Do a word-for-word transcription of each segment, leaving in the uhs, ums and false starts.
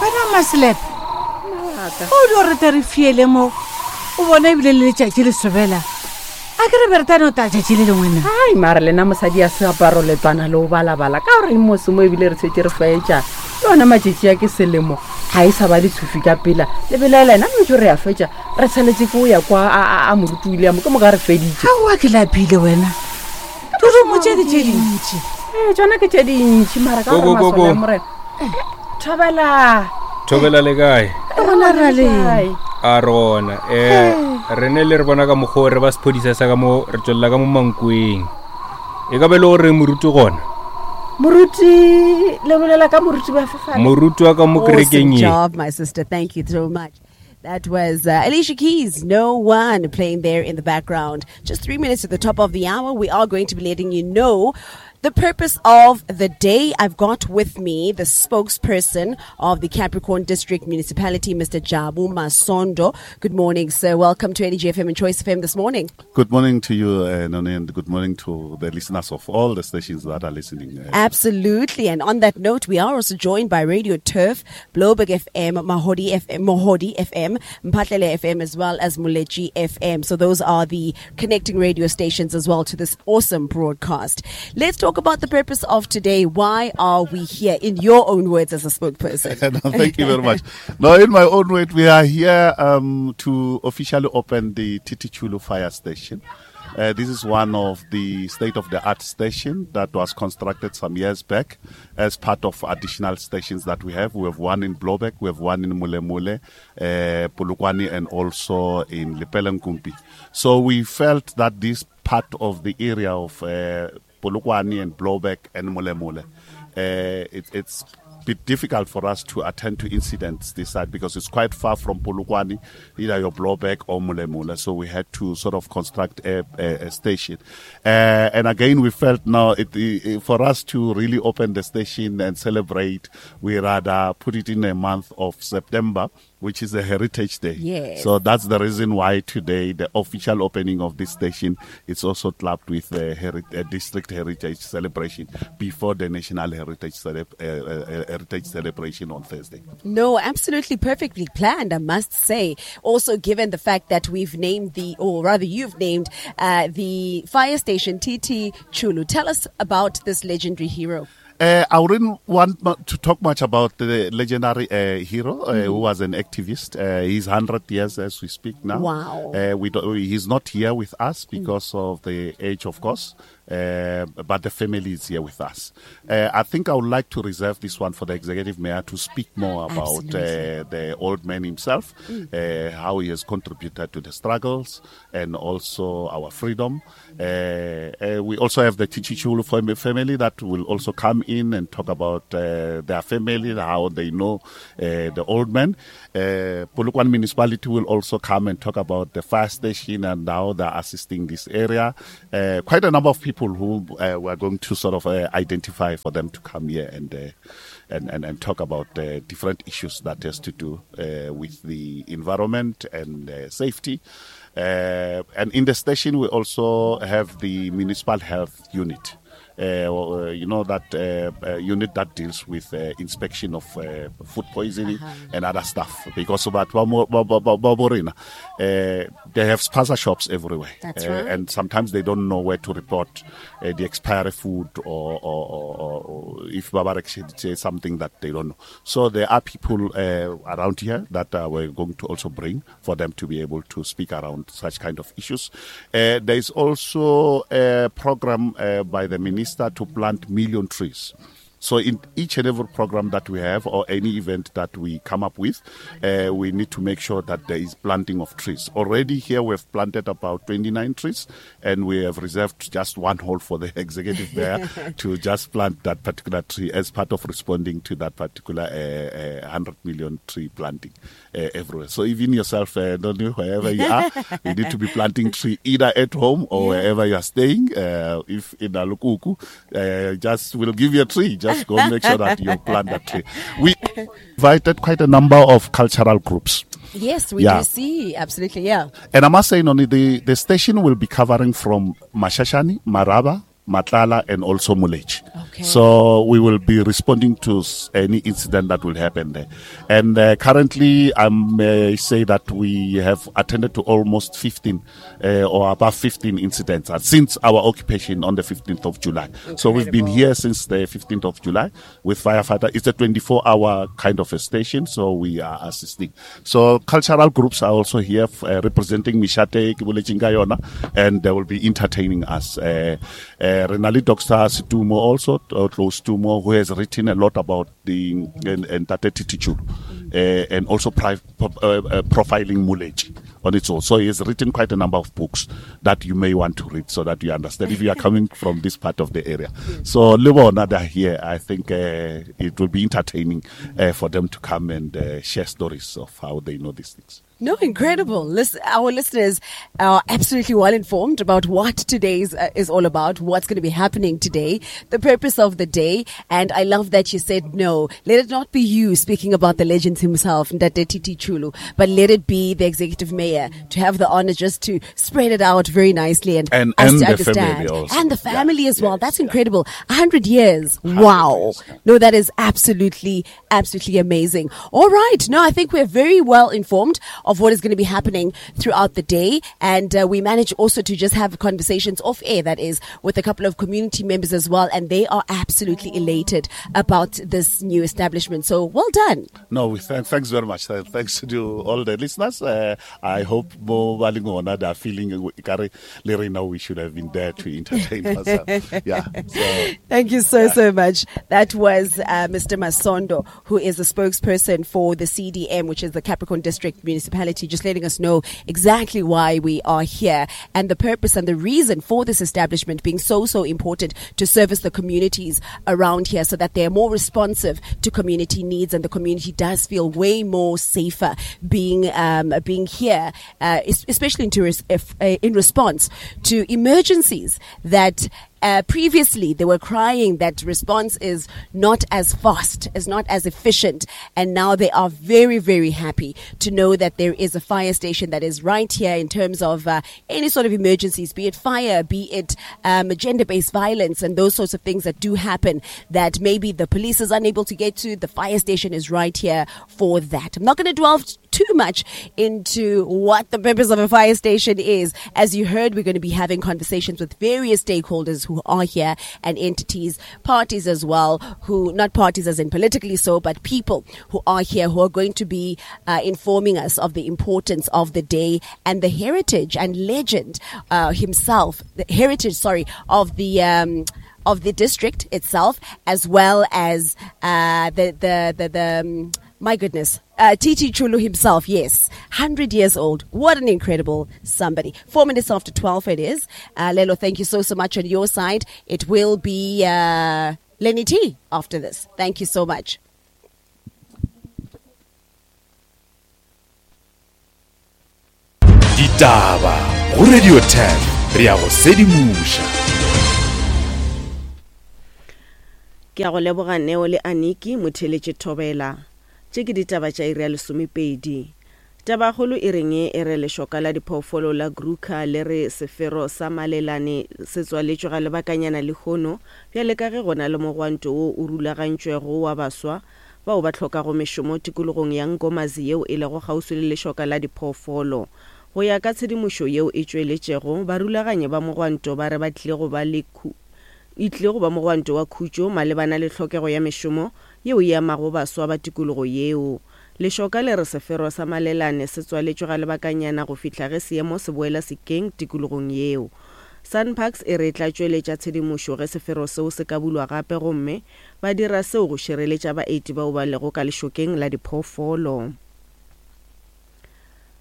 Wena Maselepe, o dio re te re fiele mo, o bona ebile le letšatši le sobela. A ke re be re tla no ta tšatši le lengwe na? Ai, mara lena mosadi ya seaparo letswana le o balabala ka gore mose mo ebile re tshwetse re fetša le ona matšatši a ke selemo ga e sa ba letshufi ka pela le belaela ena metso re a fetša re tshaletse ke o ya kwa a, a, a moruti William ke moka re feditše. Aowa, ke lapile wena. Dirumo tše ke tše dintši. Ee, tsona ke tše dintši mara ka Go, gore go, go, masole a go. morena. Eh, thobela. Thobela le kae? Gona ra leng. A re gona. Um re ne le re bona ka mokgwa o re ba sephodisa sa ka mo re tswelela ka mo Mankweng. E ka be le gore moruti gona? Moruti, le bolela ka moruti ba fefale? Moruti wa ka mo Awesome kerekeng ye. job, my sister. Thank you so much. That was uh, Alicia Keys, No One, playing there in the background. Just three minutes to the top of the hour, we are going to be letting you know the purpose of the day. I've got with me the spokesperson of the Capricorn District Municipality, Mister Jabu Masondo. Good morning, sir. Welcome to Energy F M and Choice F M this morning. Good morning to you, uh, Noni, and good morning to the listeners of all the stations that are listening. Uh, Absolutely. And on that note, we are also joined by Radio Turf, Blouberg F M, Mahodi F M, Mohodi F M, Mphatlele F M, as well as Moletji F M. So those are the connecting radio stations as well to this awesome broadcast. Let's talk about the purpose of today. Why are we here? In your own words as a spokesperson. No, thank you very much. No, in my own words, we are here, um, to officially open the T T Chulu Fire Station. Uh, this is one of the state-of-the-art station that was constructed some years back as part of additional stations that we have. We have one in Blouberg, we have one in Molemole, uh, Polokwane, and also in Lepelle-Nkumpi. So we felt that this part of the area of, uh, Polokwane and Blouberg and Molemole, uh, it, it's a bit difficult for us to attend to incidents this side because it's quite far from Polokwane, either your Blouberg or Molemole. So we had to sort of construct a, a, a station. Uh, and again, we felt now it, it, for us to really open the station and celebrate, we rather put it in a month of September, which is a Heritage Day. Yes. So that's the reason why today the official opening of this station is also clubbed with the heri-, uh, District Heritage Celebration before the National Heritage, Celeb-, uh, uh, Heritage Celebration on Thursday. No, absolutely perfectly planned, I must say. Also, given the fact that we've named the, or rather you've named, uh, the fire station T T Chulu. Tell us about this legendary hero. Uh, I wouldn't want mu-, to talk much about the legendary, uh, hero, uh, Mm. who was an activist. Uh, he's hundred years as we speak now. Wow. Uh, we don't, he's not here with us Mm. because of the age, of course, uh, but the family is here with us. Uh, I think I would like to reserve this one for the executive mayor to speak more about, uh, Absolutely. the old man himself, Mm. uh, how he has contributed to the struggles and also our freedom. Uh, uh, we also have the T T Chulu fam-, family that will also come in and talk about, uh, their family, how they know, uh, the old man. Uh, Polokwane Municipality will also come and talk about the fire station and how they're assisting this area. Uh, quite a number of people who, uh, we're going to sort of, uh, identify for them to come here and, uh, and, and, and talk about, uh, different issues that has to do, uh, with the environment and, uh, safety. Uh, and in the station, we also have the municipal health unit. Uh, well, uh, you know, that, uh, uh, unit that deals with, uh, inspection of, uh, food poisoning Uh-huh. and other stuff. Because about ba-, ba-, ba-, ba-, ba-, Borena, uh, they have spaza shops everywhere. That's Uh, right. And sometimes they don't know where to report, uh, the expiry food or, or, or, or, or if Babarek say something that they don't know. So there are people, uh, around here that, uh, we're going to also bring for them to be able to speak around such kind of issues. Uh, there is also a program, uh, by the minister to plant million trees. So in each and every program that we have or any event that we come up with, uh, we need to make sure that there is planting of trees. Already here we have planted about twenty-nine trees, and we have reserved just one hole for the executive mayor to just plant that particular tree as part of responding to that particular, uh, uh, hundred million tree planting, uh, everywhere. So even yourself, uh, don't you, wherever you are, you need to be planting tree either at home or Yeah. wherever you are staying. Uh, if in Alukuku, uh, just we'll give you a tree. Just go make sure that you plant that tree. We invited quite a number of cultural groups. Yes, we Yeah. do see. Absolutely, yeah. And I must say, Noni, the, the station will be covering from Mashashane, Maraba, Matlala, and also Moletši. Okay. So we will be responding to any incident that will happen there. And uh, currently, I may say that we have attended to almost fifteen uh, or above fifteen incidents uh, since our occupation on the fifteenth of July. Incredible. So we've been here since the fifteenth of July with firefighter. It's a twenty-four hour kind of a station, so we are assisting. So cultural groups are also here uh, representing Mishate, Kibulechinga and they will be entertaining us. Uh, uh, Renali Doctor Situmo also, Tlou Setumo, who has written a lot about the Ntate Titi Chulu, uh, and also pri- pro- uh, uh, profiling Moletši on its own. So he has written quite a number of books that you may want to read so that you understand if you are coming from this part of the area. So Lebona, they're here. I think uh, it will be entertaining uh, for them to come and uh, share stories of how they know these things. No, incredible. Listen, our listeners are absolutely well informed about what today's uh, is all about, what's going to be happening today, the purpose of the day. And I love that you said, no, let it not be you speaking about the legends himself, Ntate Titi Chulu, but let it be the executive mayor to have the honor just to spread it out very nicely and, and, us and to the understand. Family also. And the family yeah. as well. Yes, That's yeah. incredible. A hundred years. Wow. Years, yeah. No, that is absolutely, absolutely amazing. All right. No, I think we're very well informed of what is going to be happening throughout the day. And uh, we manage also to just have conversations off air, that is, with a couple of community members as well. And they are absolutely elated about this new establishment. So well done. No, we thank, thanks very much. Thanks to all the listeners. Uh, I hope Mo Balingona, they are feeling Lerina, we should have been there to entertain ourselves. Yeah. So, thank you so, yeah. so much. That was uh, Mister Masondo, who is the spokesperson for the C D M, which is the Capricorn District Municipality, just letting us know exactly why we are here and the purpose and the reason for this establishment being so, so important to service the communities around here so that they're more responsive to community needs and the community does feel way more safer being um, being here, uh, especially in, tourist, if, uh, in response to emergencies that Uh, previously, they were crying that response is not as fast, is not as efficient. And now they are very, very happy to know that there is a fire station that is right here in terms of uh, any sort of emergencies, be it fire, be it um, gender-based violence and those sorts of things that do happen that maybe the police is unable to get to. The fire station is right here for that. I'm not going to delve too much into what the purpose of a fire station is. As you heard, we're going to be having conversations with various stakeholders who are here and entities, parties as well, who, not parties as in politically so, but people who are here who are going to be uh, informing us of the importance of the day and the heritage and legend uh, himself, the heritage, sorry, of the um, of the district itself, as well as uh, the, the, the, the um, my goodness, uh, Titi Chulu himself, yes, one hundred years old. What an incredible somebody. Four minutes after twelve it is. Uh, Lelo, thank you so, so much on your side. It will be uh, Lenny T after this. Thank you so much. Ditaba go Radio ten, re a go sedimoša. Ke a go leboga Neo le Aniki motheletše Thobela. Tše ke ditaba tša iri ya lesomepedi. Tabakgolo e reng e re lešoka la diphoofolo la Kruger le re sefero sa Malelane se tswaletšwe ga lebakanyana lehono bjale ka ge go na le mogwanto wo o rulagantšwego wa baswa bao ba hlokago mešomo tikologong ya Nkomazi yeo e lego kgauswi le lešoka la diphoofolo. Go ya ka tshedimošo yeo e tšweletšego, barulaganyi ba mogwanto ba re ba tlile go ba le e tlile go ba mogwanto wa khutšo malebana le tlhokego ya mešomo yeo e amago baswa ba tikologo yeo. Lešoka le re sefero sa Malelane se tswaletšwe ga lebakanyana go fihla ge seemo se boela sekeng tikologong yeo. SANParks e re tla tšweletša tshedimošo ge sefero seo se ka bulwa gape gomme ba dira seo go šireletša baeti bao ba lego ka lešokeng la diphoofolo.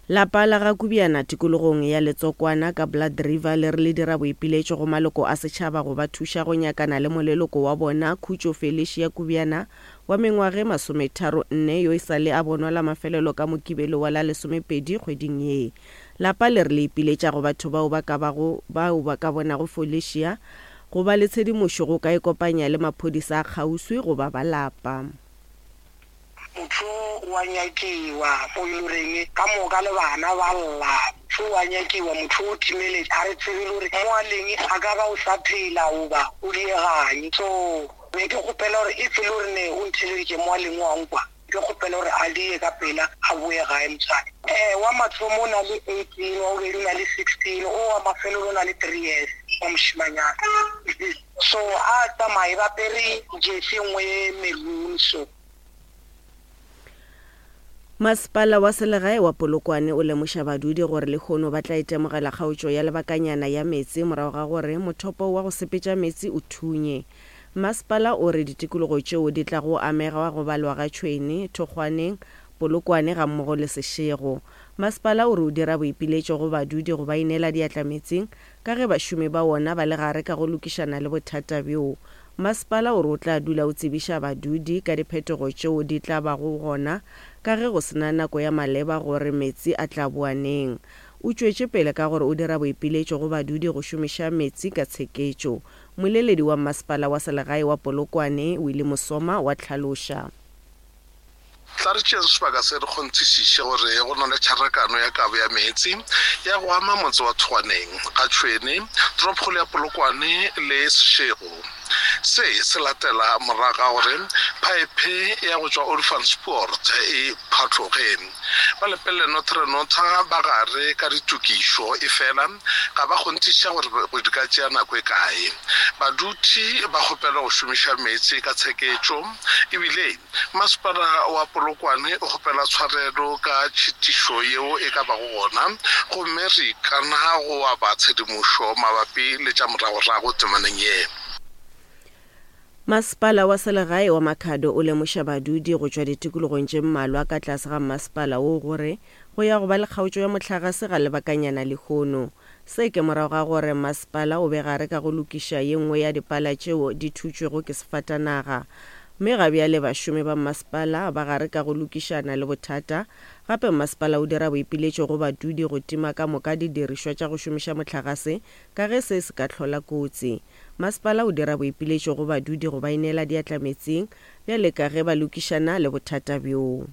Lapa la ga Kubiana tikologong ya Letsokwana ka Blood River le re le dira boipiletšo go maloko a setšhaba go ba thuša go nyakana le moleloko wa bona Khutšo Felicia Kubiana wa mengwaga e masometharo nne yo e sa le a bonwa la mafelelo ka Mokibelo wa la lesomepedi kgweding ye. Lapa le re le ipiletša go batho bao ba ka bago bao ba ka bonago Felicia go ba le tshedimošo go ka ikopanya le maphodisa a kgauswi goba ba lapa. Motho wa nyakiwa o ile reng ka moka le bana ba lla Motho o a nyakiwa, motho o timeletše, a re tsebe le gore mo a leng a ka ba o sa phela goba o dieganye. So be ke kgopela gore if e le gore ne o ntheleditše mo a leng wa nkwa, ke kgopela gore a die ka pela a boe gae motswadi. Um wa mathomo o na le eighteen, wa bobedi o na le sixteen, o wa mafelelo o na le three years wa mošimanyana. So a tsamaye ba apere jersey e nngwe ye maroon so. Masepala wa selegae wa Polokwane o lemoša badudi gore lehono ba tla itemogela kgaotšo ya lebakanyana ya meetse morago ga gore mothopo wa go sepetša meetse o thunye. Masepala o re ditikologo tšeo di tlago amega go balwa ga Tšhwene, Thokgwaneng, Polokwane gammogo le Seshego. Masepala o re o dira boipiletšo go badudi go ba inela diatla metseng ka ge bašomi ba wona ba le gare ka go lokišana le bothata bjo. Masepala o re o tla dula o tsebiša badudi ka diphetogo tšeo di tla bago gona ka ge go sena nako ya maleba gore meetse a tla boa neng. O tšwetše pele ka gore o dira boipiletšo go badudi go šomiša meetse ka tsheketšo. Moleledi wa masepala wa selegae wa Polokwane, Willie Mosoma, wa tlhaloša. Tla re tšeeng sebaka se re kgonthišiše gore go na le tšharakano ya kabo ya meetse ya go ama motse wa Thokgwaneng, ga Tšhwene, toropokgolo ya Polokwane le Seshego. Se se latela morago ga gore phaephe ya go tšwa Olifantspoort e phatloge. Ba Lepelle Northern Notha ba gare ka ditokišo e fela ga ba kgonthiša gore go di ka tšea nako e kae. Badudi ba kgopelwa go šomiša meetse ka tsheketšo, ebile masepala wa Polokwane o kgopela tshwarelo ka tšhitišo yeo e ka bago gona, gomme re ikana go aba tshedimošo mabapi le tša moragorago temaneng ye. Masepala wa selegae wa Makhado o lemoša badudi go tšwa ditikologong tše mmalwa ka tlase ga masepala wo gore go ya go ba le kgaotšo ya mohlagase ga lebakanyana lehono. Se ke morago ga gore masepala o be gare ka go lokiša ye nngwe ya dipala tšeo di thutšwego ke sefatanaga. Mme ga bjale bašomi ba masepala ba gare ka go lokišana le bothata. Gape masepala o dira boipiletšo go badudi go tima ka moka didirišwa tša go šomiša mohlagase ka ge se se ka hlola kotsi. Masepala o dira boipiletšo go badudi go ba inela diatla metseng bjale ka ge ba lokišana le bothata bjoo.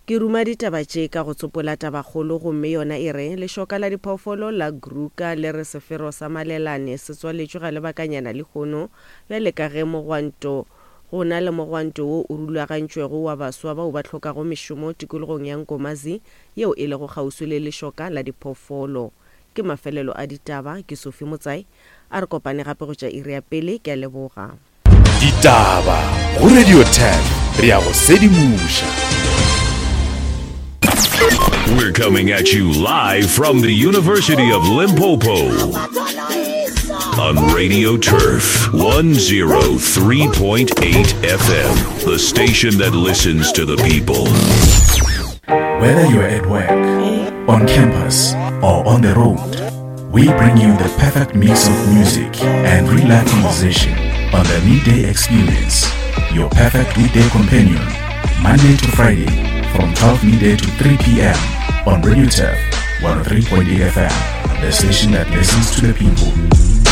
Ke ruma ditaba tše ka go tsopola tabakgolo gomme yona e re lešoka la diphoofolo la Kruger le re sefero sa Malelane se tswaletšwe ga lebakanyana lehono bjale ka ge mogwanto go na le mogwanto wo o rulagantšwego wa baswa bao ba hlokago mešomo tikologong ya Nkomazi yeo e lego kgauswi le lešoka la diphoofolo. Ke mafelelo a ditaba, ke Sophie Motsai, a re kopane gape go tša iri ya pele, ke a leboga. Ditaba go Radio ten, re ya go sedimoša. We're coming at you live from the University of Limpopo on Radio Turf one oh three point eight F M, the station that listens to the people. Whether you're at work, on campus, or on the road, we bring you the perfect mix of music and real life conversation on the Midday Experience, your perfect weekday companion, Monday to Friday from twelve midday to three p.m. on Radio Turf one oh three point eight F M, the station that listens to the people.